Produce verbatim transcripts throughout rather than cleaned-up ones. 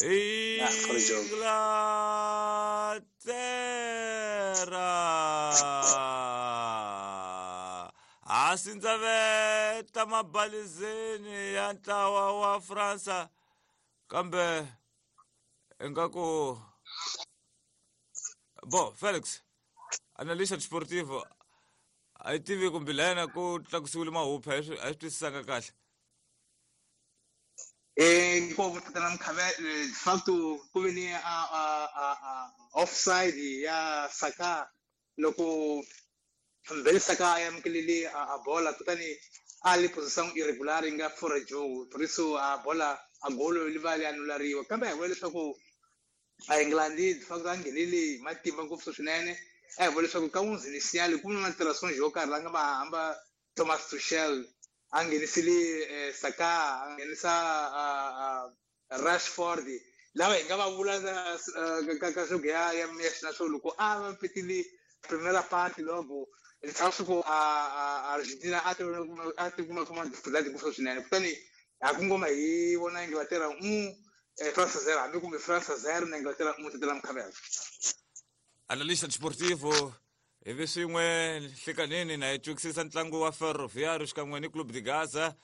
Inglaterra a sindzaveta mabalizeni ya ntlawa wa Fransa kambe ingaku bo Felix analista desportivo a yi tivi kumbe layena ku tlakusiwile mahuphu a yi swi a yi swi twisisanga kahle. Eh, ko tatana Mkhabela de facto ku ve ni a a a a offside ya Saka loko Mbele Saka a amukelele a, a bola kutani a li posição irregular yi nga fora jogo por isso a bola a golo li va li anulariwa kambe a hi vona leswaku a England de facto a nghenele hi matimba ngopfu swinene a hi vona leswaku ka onze inicial ku na alterações yo karhi la nga va hamba Thomas Tuchel a nghenisile eh, Saka a nghenisa uh, uh, Rashford lava hi nga va vula eh, ka ka swo ya ya na swo loko a va petile primera parte logo leswaku ku a a Argentina a ti a ti kuma kuma dificuldade ngopfu swinene kutani a ku ngoma hi vona Inglaterra um eh, France zero hambi kumbe France zero na Inglaterra um tatana Mkhabela. Analista desportivo ivi swin'we nhlikanini na hi twisisa ntlangu wa Ferroviário xikan'we ni Clube de Gaza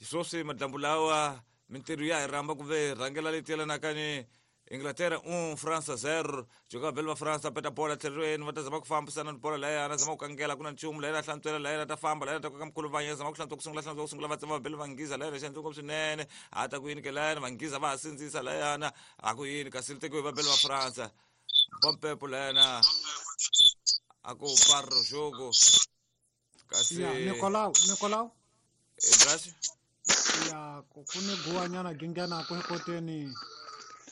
sweswi madyambu lawa mintirho ya hi rhamba ku ve rhangela leti yelanaka ni Inglaterra um Fransa zero joka vabeli va Fransa peta bola tlhelweni va ta zama ku fambisana ni bola layana zama ku kangela ku na nchumu layana hlantswela layana ta famba layana ta koka mkhulu vanya zama ku hlantswa ku sungula hlantswa ku sungula va tsema vabeli va nghiza layana xi endle swinene a ta ku yini ke layana va nghiza va ha sindzisa layana a ku yini kasi li tekiwe hi vabeli va Fransa bompepo layana a ku parro jogo kasi Ya Nicolau Nicolau Ibrahim ya ku ku ni guwanyana gi nghenaka ekoteni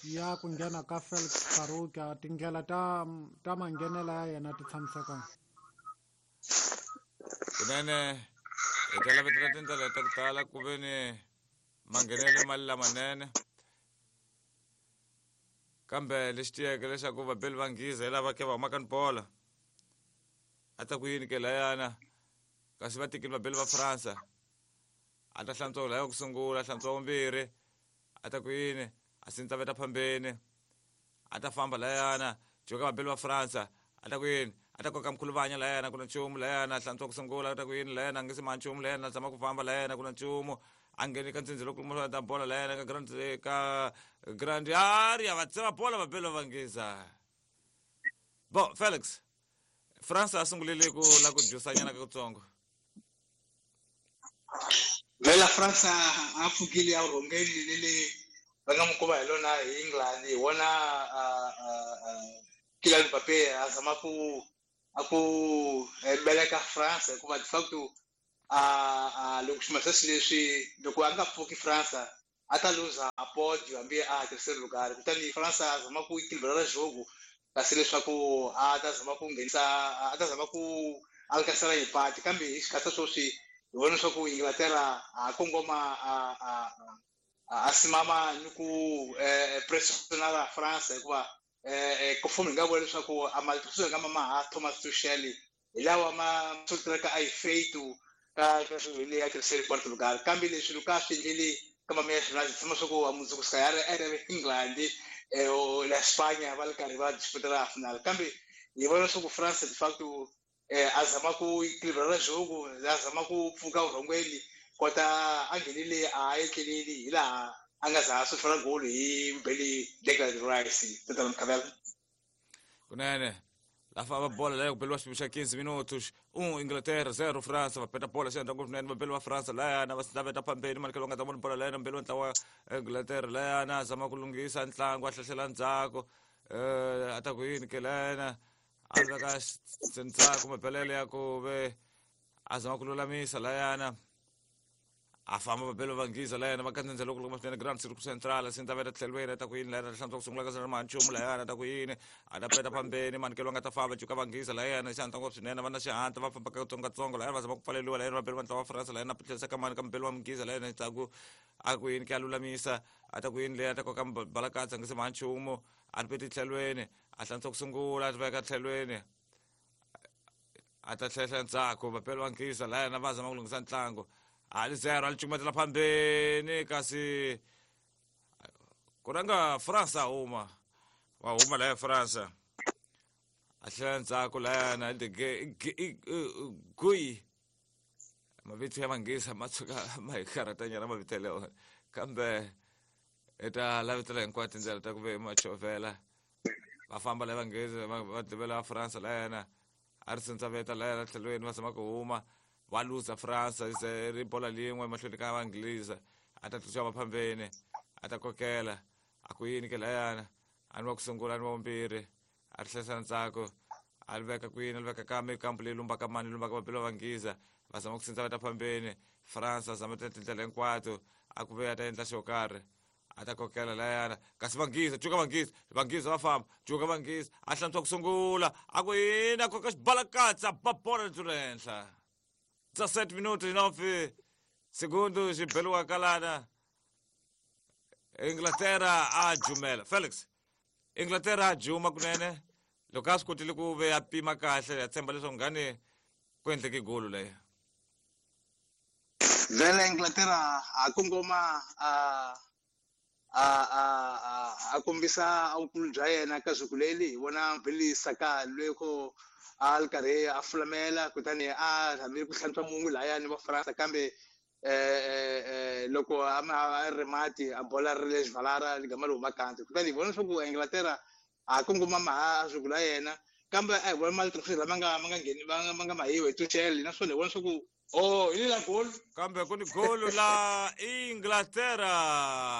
ya ku nghena ka Felix Faruka tindlela ta ta manghenela ya yena ti tshamisekanga. Kunene hi ta lavetela tindlela ta ku tala ku ve ni manghenelo mali lamanene kambe lexi tiyeke leswaku vabeli va nghiza hi lava ke va humaka ni bola a ta ku yini ke layana kasi va tekile vabeli va Fransa a ta hlantswa laya ku sungula hlantswa vumbirhi a ta ku yini a sindzaveta phambeni a ta famba layana joka vabeli va Fransa a ta ku yini a ta koka mkhuluvanya layana ku na nchumu layana hlantswa ku sungula a ta ku yini layana a nge se ma nchumu layana a zama ku famba layana ku na nchumu a ngheni ka ntsindzi loko ta bola layana ka grand ka grand area va tsema bola vabeli va vangisa bo Felix Fransa a sungulile ku la ku jusanyana kakutsongo. Vela Fransa a pfukile a rhongeni lele va nga n'wi komba hi lona hi England hi vona Kylian Mbappé a zama ku a ku beleka France hikuva de facto a a loko xima sweswi leswi loko a nga pfuki France a ta luza a podio hambi a hakerise lugar kutani France a zama ku equilibrar jogo kasi leswaku a ta zama ku nghenisa a ta zama ku alcançar empate kambe hi xikhatsa sweswi hi vona leswaku Inglaterra a kongoma a a a simama ni ku pressionar France hikuva eh ku hi nga vula leswaku a matirhiselo nga ma ha Thomas Tuchel hi lawa ma solteraka a yi feito ka ka swilo leyi a tirhisele Portugal kambe leswi loko a swi endleli ka mamiya xina tshama swa ku mundzuku sika ya ri ri England eh la Spanya va ri karhi va disputela final kambe hi vona leswaku France de facto eh a zama ku equilibrar jogo a zama ku pfuka vurhongweni kota a nghenile a etleleli hi laha a nga za a swi golo hi Mbele Declan Rice tatana Mkhabela. Kunene la famba bola leyo kubeliwa xipimo xa quinze minutos um Inglaterra zero Fransa va peta bola xi endla ngopfu swinene vabeli va Fransa layana va laveta phambeni manikelo nga ta vona bola layana mbeli wa ntlawa Inglaterra layana a zama ku lunghisa ntlangu a hlahlela ndzhaku eh a ta ku yini ke layana a veka ndzhaku mabelele ya ku ve a zama ku lulamisa layana a famba vabeli va nghiza layana va kandzendza loko loko swinene Grand Circle Central sindzaveta tlhelweni a ta ku yini layana hlantswa ku sungula ka sala ma nchumu layana ta ku yini a ta peta phambeni manikelo nga ta famba juka va nghiza layana xi ngopfu swinene va na xihatla va famba katsongokatsongo layana va zama ku pfaleliwa layana vabeli va ntlawa wa France layana tlherisa ka mani ka mubeli wa mughiza layana ndzhaku a ku yini ke a lulamisa a ta ku yini leyi a ta koka balakatsa nge se ma nchumu a ri peti tlhelweni a hlantswa ku sungula a ti veka tlhelweni a ta tlhehla ndzhaku vabeli va nghiza layana va zama ku lunghisa ntlangu a li zero a li cukumetela phambeni kasi ko Ku rhanga France a huma wa huma laya France a tlhela ndzhaku layana Guy mavito ya Manghezi ma tshuka ma hi karhatanyana mavito yaleyo kambe i ta lavetela hinkwato tindlela ta ku ve ma chovhela va famba la Vanghezi va tivela France layana a ri sindzaveta layana tlhelweni va zama ku huma va luza France se ri bola lin'we mahlweni ka Vanghezi a ta tluxa maphambeni a ta kokela a ku yini ke layana a ni wa ku sungula a ni wa vumbirhi a ri hlayisa ndzhaku a ri veka kwini a ri veka ka mikambu leyi lumbaka mani lumbaka mapilo va Nghiza va zama ku sindza va ta phambeni France a zama tindlela hinkwato a ku ve a ta endla xo karhi a ta kokela layana kasi Vanghezi cuka Vanghezi Vanghezi va famba cuka Vanghezi a hlantswa ku sungula a ku yini a koka xibalakatsa ba bola ri tlula henhla dezessete minutos nove segundos xibeliwa kalana Inglaterra a jumela Felix Inglaterra a juma kunene loko a swi kotile ku ve a pima kahle ya tshemba leswaku ngani ku endleke golo leyo vele Inglaterra a kongoma a a a a kombisa vukulu bya yena ka siku leri hi vona Billy Saka loko a ri karhi a fulamela kutani a rhamile ku hlantswa mungu lahayani va France kambe eh loko a ri mati a bola ri le xivalara ligama ri huma kanti kutani hi vona leswaku Inglaterra a kongoma maha siku la yena kambe a hi vona mali lama nga ma nga ngheni ma nga mahiwa hi Tuchel naswona hi vona leswaku oh hi la goal kambe ku ni golo la Inglaterra.